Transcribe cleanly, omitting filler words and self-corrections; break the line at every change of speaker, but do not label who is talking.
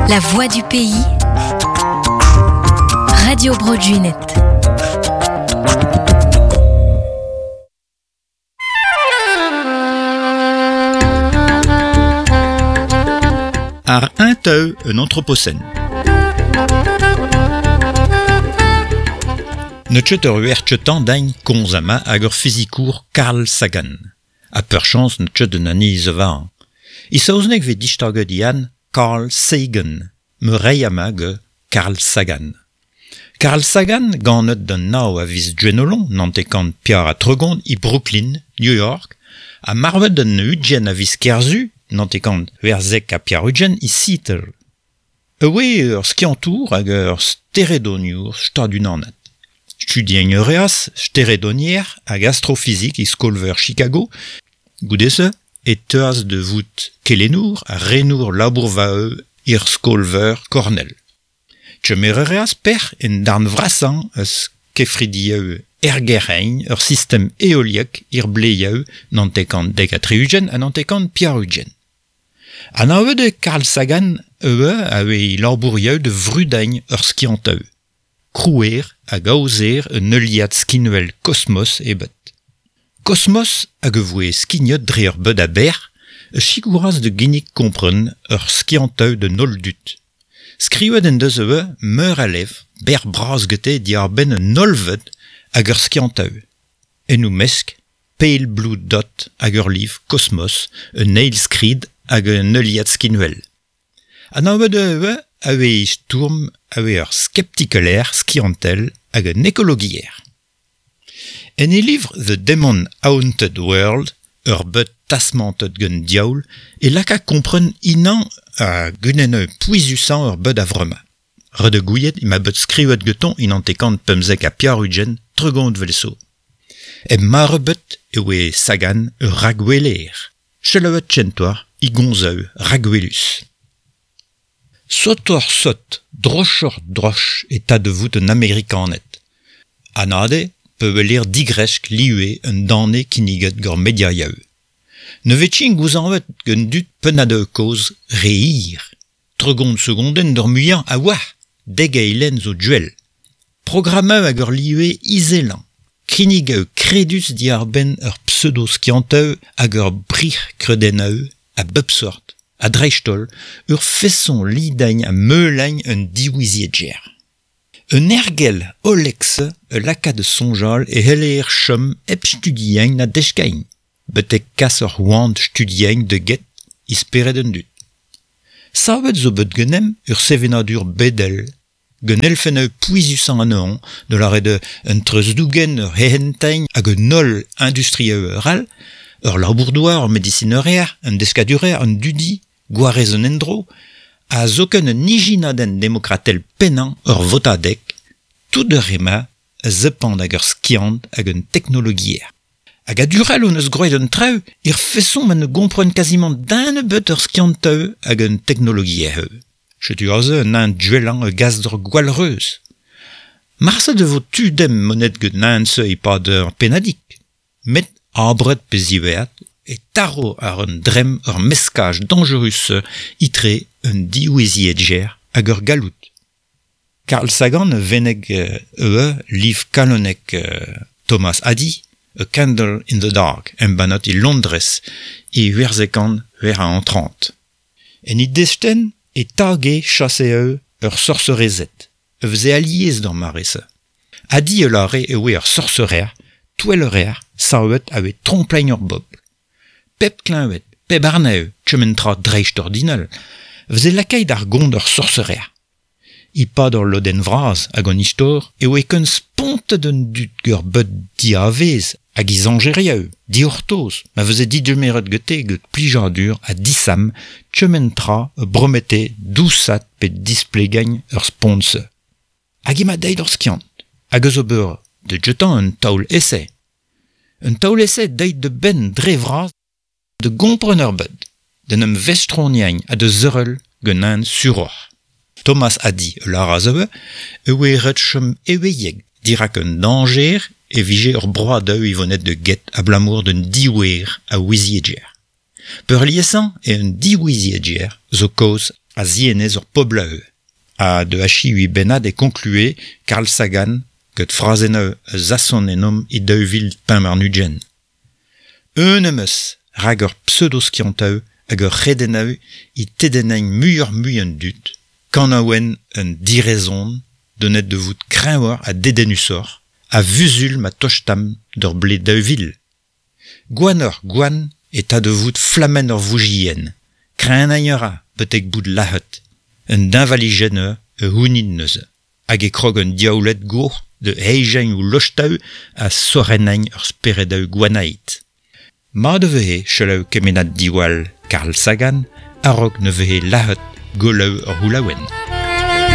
La voix du pays. Radio Bro Gwened.
Ar un teu un anthropocène. Ne tcheut ur uer tcheutan daign konz ama hag ur fizikour Carl Sagan. A peur chance ne tcheut un ani zevan. I saozneg ve distaget ian Carl Sagan, me rei ama ge Carl Sagan. Carl Sagan ganet d'un nao a viz Gwenolon, nantekant piar a tregont i Brooklyn, New York, a marvet d'un udjen a viz Kerzu, nantekant verzek a piar udjen i Seattle. E oe ur skiantour hag ur steredoniour stadunanat. Studien reas, steredonier hag astrofizik i skolveur Chicago, goudese e teuas de vout kelenour ha renour labourvaeu ir skolveur Cornell. Tchemer reas per en darn vrasan eus kefridieu ergerein ur sistem eoliek ir bleieu nantekant dek a triugen ha nantekant piar ugen. An de Carl Sagan eue a oe labourieu de vrudagn ur skianteu. Krouer hag aozer un heuliad skinuel Kosmos ebet. Kosmos hag e voe skignet dre ur beud a ber, e sikouraz de ginnig kompren ur skianteu de noldut. Skrivet en deus eue meur a lev, ber braz gete diar ben un nolvet hag ur skianteu. En ou mesk, Pale Blue Dot hag ur liv Kosmos, un eil skrid hag un heuliad skinuel. An avet eue a oe stourm a oe ur skeptikeler skiantel hag un ekologier. En e livre The Demon Haunted World, ur beut tasmantet gant diaoul, e laka kompren inan a gunen pouizusan ur beut a vrema. Re de gouiet ima beut skrivet geton inan tekant pemzek a piar ugen tregont velso. E mare beut e oe Sagan ur ragweler. Cheleuet tchentoar i gonzeu ragwelus. Sotor sot, drochor droch e ta de vout un amerikanet. Anade pe weler digresk liue un dane kinniget gor mediaiaeu. Ne vetchin gouzanvet gant dud pennad koz reir. Tregont segonden d'ur muiañ a oa, deg eilen zo duel. Programmeu hag ur liue izelan. Kinnig eo kredus diar ben ur pseudo-skianteu hag ur brich kredeneu a bep sort, a dreistol, ur feson lidagn a meulagn un diwiziedger. Un ergel olexe e laka de sonjal e heleer chom ep studiein na deskain, betek kas ur oant studiein de get isperet un dut. Savet zo bet genem ur sevenadur bedel, gen elfen eu pouizusan an eon, de la de un treusdougen ur hehentein hag un holl industrieu ur al, ur labourdoar, ur medisinerer, un deskadurer, un dudi, gwarez un endro, a zoken un ijinadenn demokratel pennañ ur votadeg, tout ur ema zepand hag ur skiant hag un teknologier. Hag a durel on eus groet un treu, ir feson ma ne gompren quasiment d'un beut ur skianteu hag un teknologier heu. Chetu aze un an duelan e gaz d'ur gwallreuz. Marse de vo tu dem monet get nan se e pad ur penadik. Met abret pe ziweat e taro ar un drem ur meskaj dangerus itre un dioueziedger hag ur galout. Carl Sagan veneg eue liv kalonek Thomas Adi, A Candle in the Dark, embanat i Londres, i huerzekan huer a antrant. En i desten e tage chasse eo ur sorcerezet, e vze aliez d'an marese. Adi e lare e oe ur sorcerer, touellerer, savet a oe tromplein ur bobl. Pep kleñvet, pep arneu, tchementra dreist ordinal, vze lakait ar gond ur sorcerer. I pad ur lodenn vraz hag an istor e oe keun spontet un dud gur beut diavez hag i zanjerieu, diortoz, ma veze didumeret gete get plijadur ha disam tchementra bromete dousat pe displegagne ur sponse. Hag ima deit ur skiant, hag eus ober de jetan un taol ese. Un taol ese deit de ben dre vraz de gompren ur beud, den em vestroniagne ha de zeurel genan suror. Thomas Adi lar a e oe ret chom eweieg dirak un danger e vije ur broad eu ivonet de get ablamour d'un diouer a ouiziedger. Peurliesañ e un diouiziedger zo kaoz a zienez ur poblaeu. Ha de achi ui bennad e conclue Carl Sagan get frazeneu zasson enom i daouvil pemp arnugent. Un emeus rag ur pseudoskianteu hag ur c'hredeneu i tedennein muioc'h mui an dud, kanaouen un direzon donet de vout kreñvoc'h ha dedennusoc'h, a vuzul ma tostam d'ur blez 2000. Gwanoc'h gwan e ta de vout flammenn ur voujien, kreñnañ a ra betek bout lahet, un deñvalijenn e hounid neuze, hag e krog un diaouled gour de heijeñ ou lostaou a sorennañ ur speredaou gwanaet. Mat e vehe selaou kemenad diwall Carl Sagan a-raok ne vehe lahet goleù ur c'houlaouenn.